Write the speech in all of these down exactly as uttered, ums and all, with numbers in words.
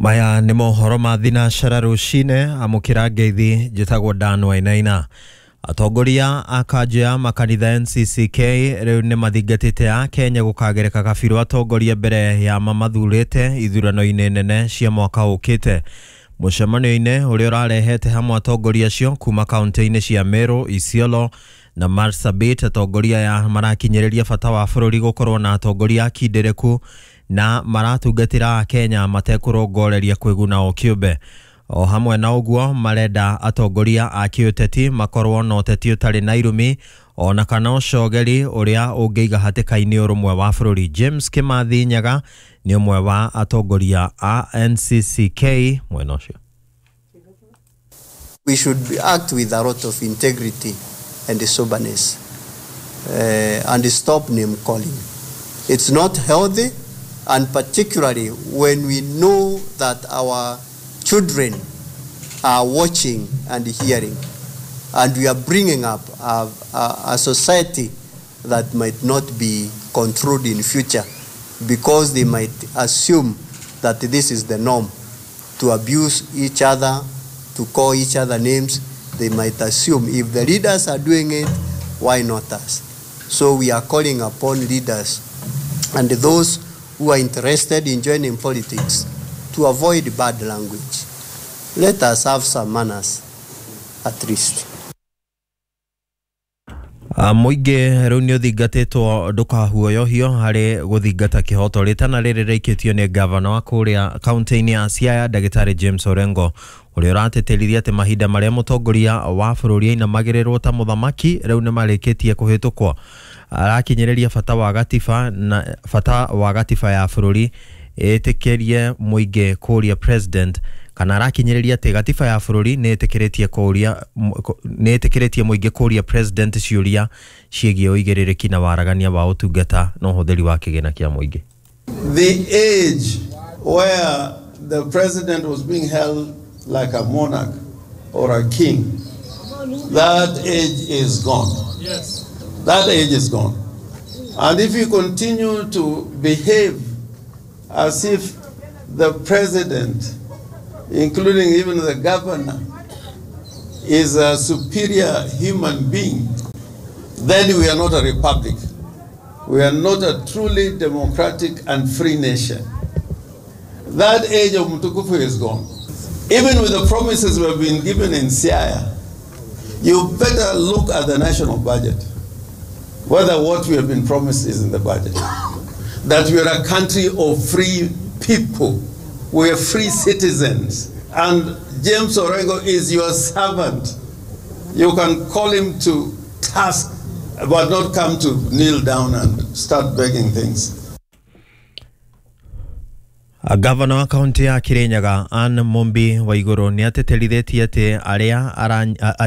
Maya nĩ mohoro ma thinacara rũcinĩ amũkĩra ngeithi njĩtagwo Dan Wainaina. Atongoria a kanjũ ya makanitha N C C K rĩu nĩ mathingatĩte a Kenya gũkagereka kabirũ atongoria mbere ya mamathurĩte ithurano-inĩ nene cia mwaka ũkĩte. Mũcemanio-inĩ ũrĩa ũrarehete hamwe atongoria acio kuma kaunti-inĩ cia Meru, Isiolo na Marsabit, atongoria aya marakinyĩrĩria bata wa bũrũri gũkorwo na atongoria akindĩrĩku na maratungatĩra Kenya matekũrongoreria kwĩguna o kĩũmbe. O hamwe na ũguo marenda atongoria a kĩũteti makorwo na ũteti ũtarĩ na irumi ona kana ũcogeri ũrĩa ũngĩiga hatĩka-inĩ ũrũmwe wa bũrũri. James Kimathi Nyaga nĩ ũmwe wa atongoria a N C C K mwena ũcio. We should act with a lot of integrity and soberness, uh, and stop name calling. It's not healthy, and particularly when we know that our children are watching and hearing, and we are bringing up a, a, a society that might not be controlled in future because they might assume that this is the norm, to abuse each other, to call each other names. They might assume if the leaders are doing it, why not us? So we are calling upon leaders and those who are interested in joining politics to avoid bad language. Let us have some manners, at least. Mũingĩ rĩu nĩ ũthingatĩtwo ndũkahuoyohio harĩ gũthingata kĩhoto rĩtana rĩrĩ rĩikĩtio nĩ gavana wa kũrĩa kaunti-inĩ ya Siaya Ndagĩtarĩ James Orengo ũrĩa ũratĩtĩrithia atĩ mahinda marĩa mũtongoria wa bũrũri ainamagĩrĩrwo ta mũthamaki rĩu nĩ marĩkĩtie kũhĩtũkwo. Arakinyĩrĩria bata wa gatiba na bata wa gatiba ya bũrũri ĩtĩkĩrie mũingĩ kũria president kana arakinyĩrĩria atĩ gatiba ya bũrũri nĩ ĩtĩkĩrĩtie kũria nĩ ĩtĩkĩrĩtie mũingĩ kũria president ciũria ciĩgiĩ ũigĩrĩrĩki na waragania wa ũtungata na ũhũthĩri wa kĩgĩna kĩa mũingĩ. The age where the president was being held like a monarch or a king, that age is gone. Yes. That age is gone. And if you continue to behave as if the president, including even the governor, is a superior human being, then we are not a republic. We are not a truly democratic and free nation. That age of Mtukufu is gone. Even with the promises we have been given in Siaya, you better look at the national budget, whether what we have been promised is in the budget. That we are a country of free people. We are free citizens. And James Orengo is your servant. You can call him to task, but not come to kneel down and start begging things. Gavana wa kaunti ya Kirinyaga Anne Mumbi Waiguru nĩ atĩtĩrithĩtie atĩ arĩa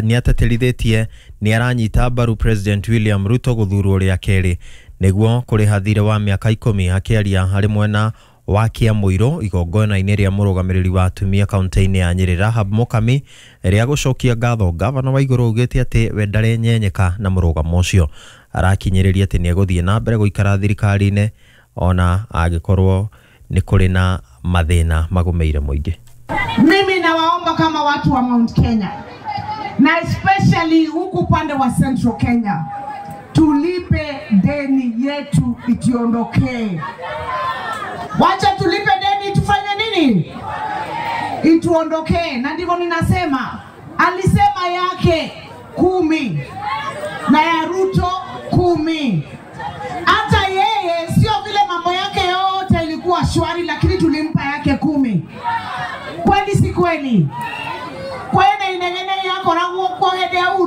nĩ atĩtĩrithĩtie nĩ aranyita mbaru President William Ruto gũthurwo rĩa kerĩ nĩguo kũrĩha thirĩ wa mĩaka ikũmi. Akĩaria harĩ mwena wa Kĩamũirũ igongona-inĩ rĩa mũrũgamĩrĩri wa atumia kaunti-inĩ ya Nyĩrĩ Rahab Mukami rĩa gũcokia ngatho, Gavana Waiguru augĩte atĩ we ndarenyenyeka na mũrũgamo ũcio. Arakinyĩrĩria atĩ nĩ egũthiĩ na mbere gũikara thirikari-inĩ ona angĩkorwo nĩ kũrĩ na mathĩna magũmĩire mũingĩ. Mimi nawaomba kama watu wa Mount Kenya na especially huku upande wa Central Kenya, tulipe deni yetu itiondokee. Wacha tulipe deni tufanye nini? Ituondokee. Na ndivyo ninasema, alisema yake kumi na ya Ruto kumi. Hata yeye sio vile mambo yake yote ilikuwa shwari, lakini tulimpa yake kumi. Kweli si kweli? Kwene inengene yako na kwa hede.